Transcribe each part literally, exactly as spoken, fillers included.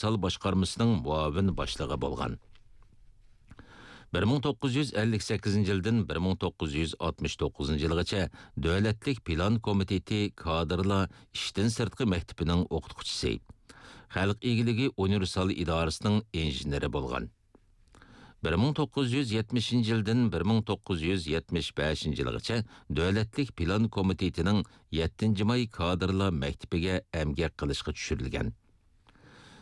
ئۇنىۋېرسال باشقارمىسىنىڭ مۇئاۋىن باشلىقى بولغان. بىر مىڭ توققۇز يۈز ئەللىك سەككىزىنچى يىلدىن بىر مىڭ توققۇز يۈز ئاتمىش توققۇزىنچى يىلغىچە دۆلەتلىك پىلان كومىتېتى كادىرلار ئىشتىن سىرتقى مەكتىپىنىڭ ئوقۇتقۇچىسى، خەلق ئىگىلىكى ئۇنىۋېرسال ئىدارىسىنىڭ ئىنژېنېرى بولغان. بىر مىڭ توققۇز يۈز يەتمىشىنچى يىلدىن بىر مىڭ توققۇز يۈز يەتمىش بەشىنچى يىلغىچە دۆلەتلىك پىلان كومىتېتىنىڭ يەتتىنچى ماي كادىرلار مەكتىپىگە ئەمگەك قىلىشقا چۈشۈرۈلگەن.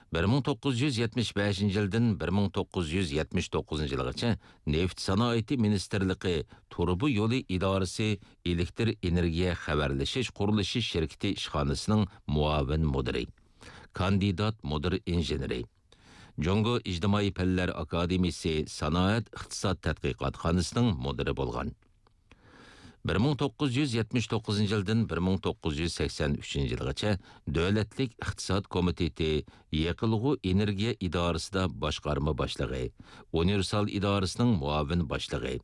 بىر مىڭ توققۇز يۈز يەتمىش بەشىنچى يىلدىن بىر مىڭ توققۇز يۈز يەتمىش توققۇزىنچى يىلغىچە نېفىت سانائىتى مىنىستىرلىقى تۇرۇبا يولى ئىدارىسى ئېلېكتر ئېنېرگىيە خەۋەرلىشىش قۇرۇلۇشى شىركىتى ئىشخانىسىنىڭ مۇئاۋىن مۇدىرى، كاندىدات مۇدىر ئىنژېنېرى، جۇڭگو ئىجتىمائىي پەنلەر ئاكادېمىيىسى سانائەت ئىقتىساد تەتقىقاتخانىسىنىڭ مۇدىرى بولغان. بىر مىڭ توققۇز يۈز يەتمىش توققۇزىنچى يىلدىن بىر مىڭ توققۇز يۈز سەكسەن ئۈچىنچى يىلغىچە دۆلەتلىك ئىقتىساد كومىتېتى يېقىلغۇ ئېنېرگىيە ئىدارىسىدا باشقارما باشلىقى، ئۇنىۋېرسال ئىدارىسىنىڭ مۇئاۋىن باشلىقى،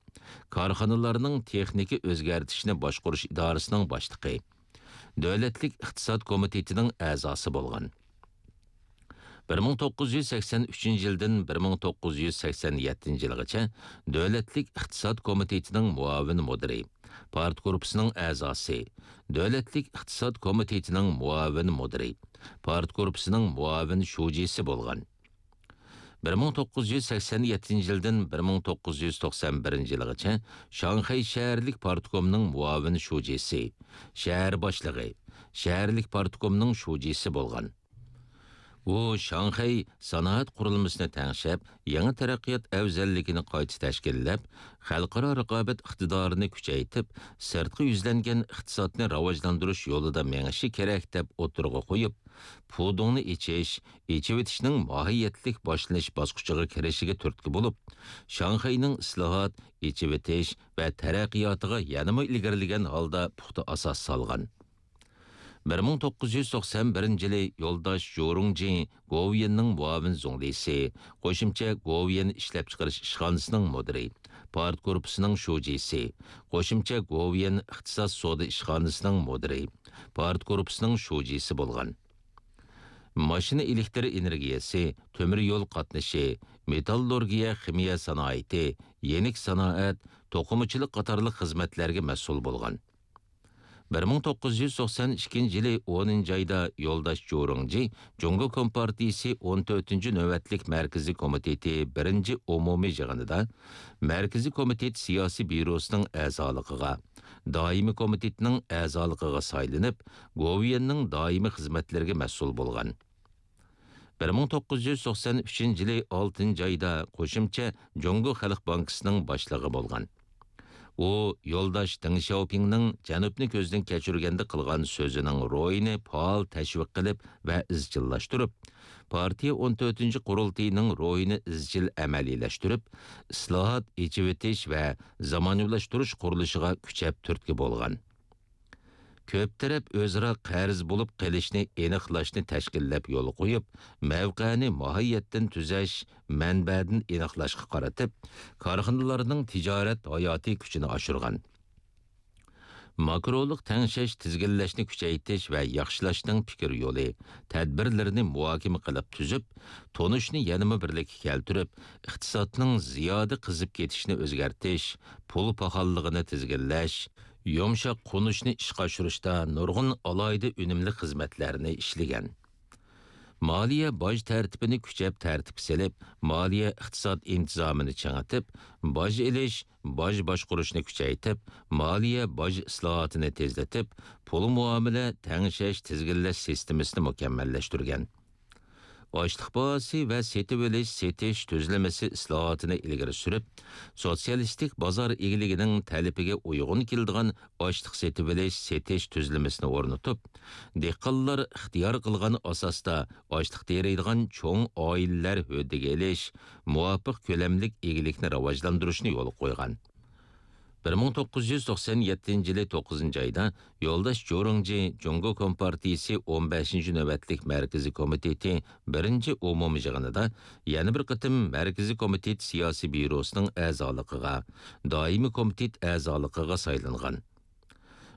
كارخانىلارنىڭ تېخنىكا ئۆزگەرتىشنى باشقۇرۇش ئىدارىسىنىڭ باشلىقى، دۆلەتلىك ئىقتىساد كومىتېتىنىڭ ئەزاسى بولغان. بىر مىڭ توققۇز يۈز سەكسەن ئۈچىنچى يىلدىن بىر مىڭ توققۇز يۈز سەكسەن يەتتىنچى يىلغىچە دۆلەتلىك ئىقتىساد كومىتېتىنىڭ مۇئاۋىن مۇدىرى، پارتگۇرۇپپىسىنىڭ ئەزاسى، دۆلەتلىك ئىقتىساد كومىتېتىنىڭ مۇئاۋىن مۇدىرى، پارتگۇرۇپپىسىنىڭ مۇئاۋىن شۇجىسى بولغان. بىر مىڭ توققۇز يۈز سەكسەن يەتتىنچى يىلدىن بىر مىڭ توققۇز يۈز توقسان بىرىنچى يىلغىچە شاڭخەي شەھەرلىك پارتكومنىڭ مۇئاۋىن شۇجىسى، شەھەر باشلىقى، شەھەرلىك پارتكومنىڭ شۇجىسى بولغان. ئۇ شاڭخەي سانائەت قۇرۇلمىسىنى تەڭشەپ، يېڭى تەرەققىيات ئەۋزەللىكىنى قايتا تەشكىللەپ، خەلقئارا رىقابەت ئىقتىدارىنى كۈچەيتىپ، سىرتقا يۈزلەنگەن ئىقتىسادنى راۋاجلاندۇرۇش يولىدا مېڭىشى كېرەك، دەپ ئوتتۇرىغا قويۇپ، پۇدۇڭنى ئېچىش، ئېچىۋېتىشنىڭ ماھىيەتلىك باشلىنىش باسقۇچىغا كىرىشىگە تۈرتكە بولۇپ، شاڭخەينىڭ ئىسلاھات، ئېچىۋېتىش ۋە تەرەققىياتىغا يەنىمۇ ئىلگىرىلىگەن ھالدا پۇختا ئاساس سالغان. بىر مىڭ توققۇز يۈز توقسان بىرىنچى يىلى يولداش جورۇڭجى گوۋۇيۈەننىڭ مۇئاۋىن زۇڭلىسى، قوشۇمچە گوۋۇيۈەن ئىشلەپچىقىرىش ئىشخانىسىنىڭ مۇدىرى، پارتگۇرۇپپىسىنىڭ شۇجىسى، قوشۇمچە گوۋۇيۈەن ئىقتىساد سودا ئىشخانىسىنىڭ مۇدىرى، پارتگۇرۇپپىسىنىڭ شۇجىسى بولغان. ماشىنا ئېلېكتر ئېنېرگىيەسى، تۆمۈر يول قاتنىشى، مېتاللورگىيە خىمىيە سانائىتى، يېنىك سانائەت، توقۇمىچىلىق قاتارلىق خىزمەتلەرگە مەسئۇل بولغان. بىر مىڭ توققۇز يۈز توقسان ئىككىنچى يىلى ئونىنچى ئايدا يولداش جورۇڭجى جۇڭگو كومپارتىيىسى ئون تۆتىنچى نۆۋەتلىك مەركىزىي كومىتېتى بىرىنچى ئومۇمىي يىغىنىدا مەركىزىي كومىتېت سىياسىي بيۇروسىنىڭ ئەزالىقىغا، دائىمىي كومىتېتنىڭ ئەزالىقىغا سايلىنىپ، گوۋۇيۈەننىڭ دائىمىي خىزمەتلىرىگە مەسئۇل بولغان. بىر مىڭ توققۇز يۈز توقسان ئۈچىنچى يىلى ئالتىنچى ئايدا قوشۇمچە جۇڭگو خەلق بانكىسىنىڭ باشلىقى بولغان. ئۇ يولداش دېڭ شياۋپىڭنىڭ جەنۇبنى كۆزدىن كەچۈرگەندە قىلغان سۆزىنىڭ روھىنى پائال تەشۋىق قىلىپ ۋە ئىزچىللاشتۇرۇپ، پارتىيە ئون تۆتىنچى قۇرۇلتىيىنىڭ روھىنى ئىزچىل ئەمەلىيلەشتۈرۈپ، ئىسلاھات، ئېچىۋېتىش ۋە زامانىۋىلاشتۇرۇش قۇرۇلۇشىغا كۈچەپ تۈرتكە بولغان. كۆپ تەرەپ ئۆزئارا قەرز بولۇپ قېلىشنى ئېنىقلاشنى تەشكىللەپ يولغا قويۇپ، مەۋقەنى ماھىيەتتىن تۈزەش، مەنبەدىن ئېنىقلاشقا قارىتىپ، كارخانىلارنىڭ تىجارەت ھاياتىي كۈچىنى ئاشۇرغان. ماكرولۇق تەڭشەش تىزگىنلەشنى كۈچەيتىش ۋە ياخشىلاشنىڭ پىكىر يولى، تەدبىرلىرىنى مۇھاكىمە قىلىپ تۈزۈپ، تونۇشنى يەنىمۇ بىرلىككە كەلتۈرۈپ، ئىقتىسادنىڭ زىيادە قىزىپ كېتىشىنى ئۆزگەرتىش، پۇل پاخاللىقىنى تىزگىنلەش، يۇمشاق قونۇشنى ئىشقا ئاشۇرۇشتا نۇرغۇن ئالاھىدە ئۈنۈملۈك خىزمەتلەرنى ئىشلىگەن. مالىيە باج تەرتىپىنى كۈچەپ تەرتىپكە سېلىپ، مالىيە ئىقتىساد ئىنتىزامىنى چىڭىتىپ، باج ئېلىش، باج باشقۇرۇشنى كۈچەيتىپ، مالىيە باج ئىسلاھاتىنى تېزلىتىپ، پۇل مۇئامىلە تەڭشەش تىزگىنلەش سىستېمىسىنى مۇكەممەللەشتۈرگەن. ئاشلىق باھاسى ۋە سېتىۋېلىش، سېتىش تۈزۈلمىسى ئىسلاھاتىنى ئىلگىرى سۈرۈپ، سوتسىيالىستىك بازار ئىگىلىكىنىڭ تەلىپىگە ئۇيغۇن كېلىدىغان ئاشلىق سېتىۋېلىش، سېتىش تۈزۈلمىسىنى ئورنىتىپ، دېھقانلار ئىختىيار قىلغان ئاساستا ئاشلىق تېرىيدىغان چوڭ ئائىلىلەر ھۆددىگە ئېلىش، مۇۋاپىق كۆلەملىك ئىگىلىكنى راۋاجلاندۇرۇشنى يولغا قويغان. بىر مىڭ توققۇز يۈز توقسان يەتتىنچى يىلى توققۇزىنچى ئايدا يولداش جورۇڭجى جۇڭگو كومپارتىيىسى ئون بەشىنچى نۆۋەتلىك مەركىزىي كومىتېتى بىرىنچى ئومۇمىي يىغىنىدا يەنە بىر قېتىم مەركىزىي كومىتېت سىياسىي بيۇروسىنىڭ ئەزالىقىغا، دائىمىي كومىتېت ئەزالىقىغا سايلانغان.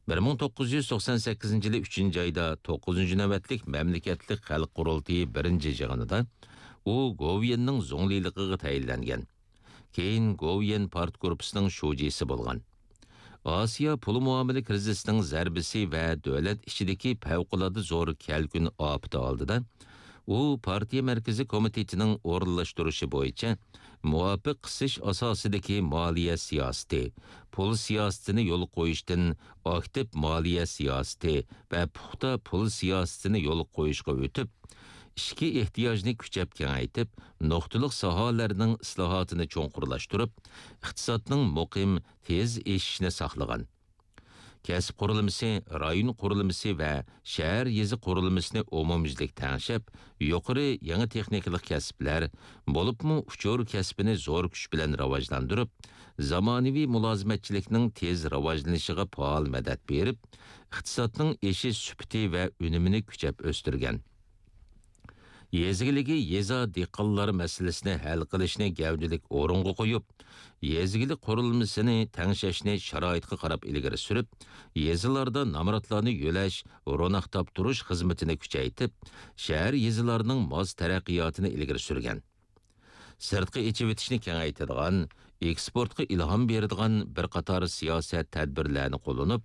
بىر مىڭ توققۇز يۈز توقسان سەككىزىنچى يىلى ئۈچىنچى ئايدا توققۇزىنچى نۆۋەتلىك مەملىكەتلىك خەلق قۇرۇلتىيى بىرىنچى يىغىنىدا ئۇ گوۋۇيۈەننىڭ زۇڭلىلىقىغا تەيىنلەنگەن. كېيىن گوۋۇيۈەن پارتگۇرۇپپىسىنىڭ شۇجىسى بولغان. ئاسىيا پۇل مۇئامىلە كىرىزىسىنىڭ زەربىسى ۋە دۆلەت ئىچىدىكى پەۋقۇلئاددە زور كەلكۈن ئاپىتى ئالدىدا، ئۇ پارتىيە مەركىزىي كومىتېتىنىڭ ئورۇنلاشتۇرۇشى بويىچە مۇۋاپىق قىسىش ئاساسىدىكى مالىيە سىياسىتى، پۇل سىياسىتىنى يولغا قويۇشتىن ئاكتىپ مالىيە سىياسىتى ۋە پۇختا پۇل سىياسىتىنى يولغا قويۇشقا ئۆتۈپ، ئىچكى ئېھتىياجنى كۈچەپ كېڭەيتىپ، نۇقتىلىق ساھەلەرنىڭ ئىسلاھاتىنى چوڭقۇرلاشتۇرۇپ، ئىقتىسادنىڭ مۇقىم، تېز ئېشىشىنى ساقلىغان. كەسىپ قۇرۇلمىسى، رايون قۇرۇلمىسى ۋە شەھەر، يېزا قۇرۇلمىسىنى ئومۇميۈزلۈك تەڭشەپ، يۇقىرى يېڭى تېخنىكىلىق كەسىپلەر، بولۇپمۇ ئۇچۇر كەسپىنى زور كۈچ بىلەن راۋاجلاندۇرۇپ، زامانىۋى مۇلازىمەتچىلىكنىڭ تېز راۋاجلىنىشىغا پائال مەدەت بېرىپ، ئىقتىسادنىڭ ئېشىش سۈپىتى ۋە ئۈنۈمىنى كۈچەپ ئۆستۈرگەن. يېزا ئىگىلىكى، يېزا، دېھقانلار مەسىلىسىنى ھەل قىلىشنى گەۋدىلىك ئورۇنغا قويۇپ، يېزا ئىگىلىك قۇرۇلمىسىنى تەڭشەشنى شارائىتقا قاراپ ئىلگىرى سۈرۈپ، يېزىلاردا نامراتلارنى يۆلەش، روناق تاپتۇرۇش خىزمىتىنى كۈچەيتىپ، شەھەر، يېزىلارنىڭ ماس تەرەققىياتىنى ئىلگىرى سۈرگەن. سىرتقا ئېچىۋېتىشنى كېڭەيتىدىغان، ئېكسپورتقا ئىلھام بېرىدىغان بىر قاتار سىياسەت تەدبىرلەرنى قوللىنىپ،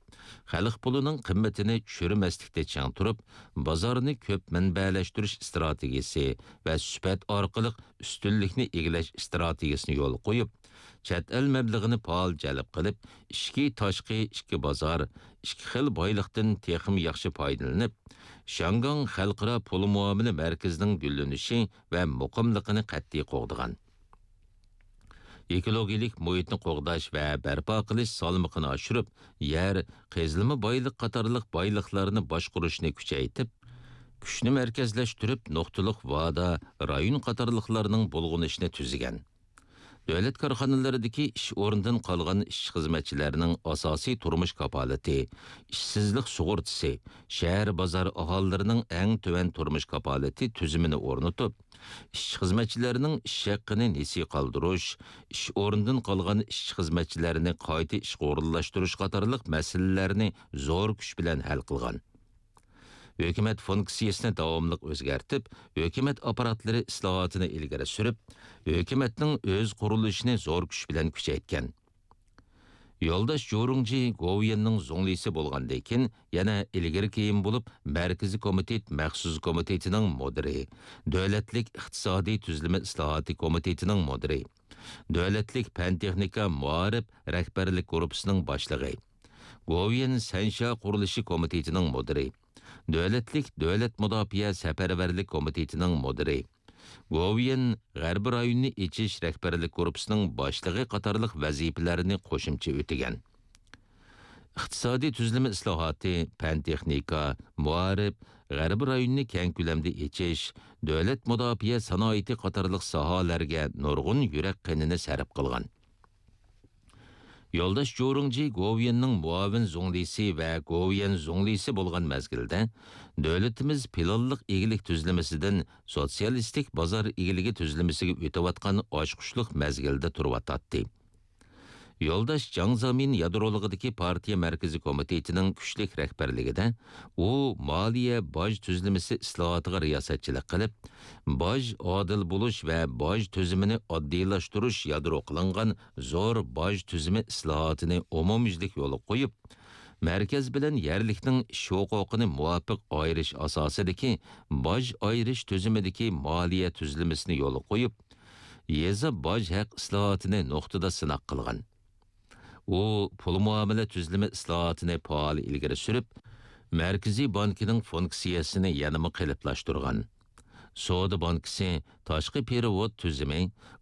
خەلق پۇلىنىڭ قىممىتىنى چۈشۈرمەسلىكتە چىڭ تۇرۇپ، بازارنى كۆپ مەنبەلەشتۈرۈش ئىستراتېگىيىسى ۋە سۈپەت ئارقىلىق ئۈستۈنلۈكنى ئىگىلەش ئىستراتېگىيىسىنى يولغا قويۇپ، چەت ئەل مەبلىغىنى پائال جەلپ قىلىپ، ئىچكى، تاشقى ئىككى بازار، ئىككى خىل بايلىقتىن تېخىمۇ ياخشى پايدىلىنىپ، شياڭگاڭ خەلقئارا پۇل مۇئامىلە مەركىزىنىڭ گۈللىنىشى ۋە مۇقىملىقىنى قەتئىي قوغدىغان. ئېكولوگىيەلىك مۇھىتنى قوغداش ۋە بەرپا قىلىش سالمىقىنى ئاشۇرۇپ، يەر، قېزىلما بايلىق قاتارلىق بايلىقلارنى باشقۇرۇشنى كۈچەيتىپ، كۈچنى مەركەزلەشتۈرۈپ، نۇقتىلىق ۋادا، رايون قاتارلىقلارنىڭ بۇلغىنىشىنى تۈزگەن. دۆلەت كارخانىلىرىدىكى ئىش ئورنىدىن قالغان ئىشچى-خىزمەتچىلەرنىڭ ئاساسىي تۇرمۇش كاپالىتى، ئىشسىزلىق سۇغۇرتىسى، شەھەر، بازار ئاھالىلىرىنىڭ ئەڭ تۆۋەن تۇرمۇش كاپالىتى تۈزۈمىنى ئورنىتىپ، ئىشچى-خىزمەتچىلەرنىڭ ئىش ھەققىنى نېسى قالدۇرۇش، ئىش ئورنىدىن قالغان ئىشچى-خىزمەتچىلەرنى قايتا ئىشقا ئورۇنلاشتۇرۇش قاتارلىق مەسىلىلەرنى زور كۈچ بىلەن ھەل قىلغان. ھۆكۈمەت فۇنكسىيەسىنى داۋاملىق ئۆزگەرتىپ، ھۆكۈمەت ئاپپاراتلىرى ئىسلاھاتىنى ئىلگىرى سۈرۈپ، ھۆكۈمەتنىڭ ئۆز قۇرۇلۇشىنى زور كۈچ بىلەن كۈچەيتكەن. يولداش جۇرۇڭجى گوۋۇيۈەننىڭ زۇڭلىسى بولغاندىن كېيىن، يەنە ئىلگىرى كېيىن بولۇپ، مەركىزىي كومىتېت مەخسۇس كومىتېتىنىڭ مۇدىرى، دۆلەتلىك ئىقتىسادىي تۈزۈلمە ئىسلاھاتى كومىتېتىنىڭ مۇدىرى، دۆلەتلىك پەن-تېخنىكا مائارىپ رەھبەرلىك گۇرۇپپىسىنىڭ باشلىقى، گوۋۇيۈەن سەنشيا قۇرۇلۇشى كومىتېتىنىڭ مۇدىرى، دۆلەتلىك دۆلەت مۇداپىئە سەپەرۋەرلىك كومىتېتىنىڭ مۇدىرى، گوۋۇيۈەن غەربىي رايونىنى ئېچىش رەھبەرلىك گۇرۇپپىسىنىڭ باشلىقى قاتارلىق ۋەزىپىلەرنى قوشۇمچە ئۆتىگەن. ئىقتىسادىي تۈزۈلمە ئىسلاھاتى، پەن-تېخنىكا، مائارىپ، غەربىي رايوننى كەڭ كۆلەمدە ئېچىش، دۆلەت مۇداپىئە سانائىتى قاتارلىق ساھەلەرگە نۇرغۇن يۈرەك قېنىنى سەرپ قىلغان. يولداش جۇرۇڭجى گوۋۇيۈەننىڭ مۇئاۋىن زۇڭلىسى ۋە گوۋۇيۈەن زۇڭلىسى بولغان مەزگىلدە، دۆلىتىمىز پىلانلىق ئىگىلىك تۈزۈلمىسىدىن سوتسىيالىستىك بازار ئىگىلىكى تۈزۈلمىسىگە ئۆتۈۋاتقان ئاچقۇچلۇق مەزگىلدە تۇرۇۋاتاتتى. يولداش جاڭ زېمىن يادرولۇقىدىكى پارتىيە مەركىزىي كومىتېتىنىڭ كۈچلۈك رەھبەرلىكىدە، ئۇ مالىيە باج تۈزۈلمىسى ئىسلاھاتىغا رىياسەتچىلىك قىلىپ، باج ئادىل بولۇش ۋە باج تۈزۈمىنى ئاددىيلاشتۇرۇش يادرو قىلىنغان زور باج تۈزۈمى ئىسلاھاتىنى ئومۇميۈزلۈك يولغا قويۇپ، مەركەز بىلەن يەرلىكنىڭ ئىش ھوقۇقىنى مۇۋاپىق ئايرىش ئاساسىدىكى باج ئايرىش تۈزۈمىدىكى مالىيە تۈزۈلمىسىنى يولغا قويۇپ، يېزا باج ھەق ئىسلاھاتىنى نۇقتىدا سىناق قىلغان. ئۇ پۇل مۇئامىلە تۈزۈلمە ئىسلاھاتىنى پائال ئىلگىرى سۈرۈپ، مەركىزىي بانكىنىڭ فۇنكسىيەسىنى يەنىمۇ قېلىپلاشتۇرغان. سودا بانكىسى، تاشقى پېرېۋوت تۈزۈمى،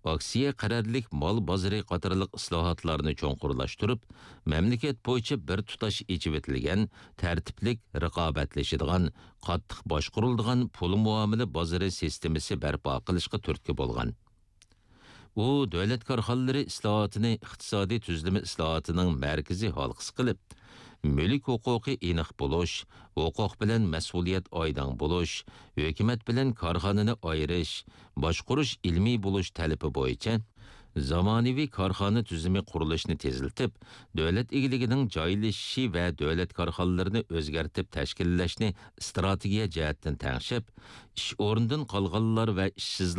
ئاكسىيە قەرەللىك مال بازىرى قاتارلىق ئىسلاھاتلارنى چوڭقۇرلاشتۇرۇپ، مەملىكەت بويىچە بىر تۇتاش ئېچىۋېتىلگەن، تەرتىپلىك رىقابەتلىشىدىغان، قاتتىق باشقۇرۇلىدىغان پۇل مۇئامىلە بازىرى سىستېمىسى بەرپا قىلىشقا تۈرتكە بولغان. ئۇ دۆلەت كارخانىلىرى ئىسلاھاتىنى ئىقتىسادىي تۈزۈلمە ئىسلاھاتىنىڭ مەركىزىي ھالقىسى قىلىپ، مۈلۈك ھوقۇقى ئېنىق بولۇش، ھوقۇق بىلەن مەسئۇلىيەت ئايدىڭ بولۇش، ھۆكۈمەت بىلەن كارخانىنى ئايرىش، باشقۇرۇش ئىلمىي بولۇش تەلىپى بويىچە زامانىۋى كارخانا تۈزۈمى قۇرۇلۇشىنى تېزلىتىپ، دۆلەت ئىگىلىكىنىڭ جايلىشىشى ۋە دۆلەت كارخانىلىرىنى ئۆزگەرتىپ تەشكىللەشنى ئىستراتېگىيە جەھەتتىن تەڭشەپ، ئىش ئورنىدىن قالغانلار ۋە ئىشسىزلار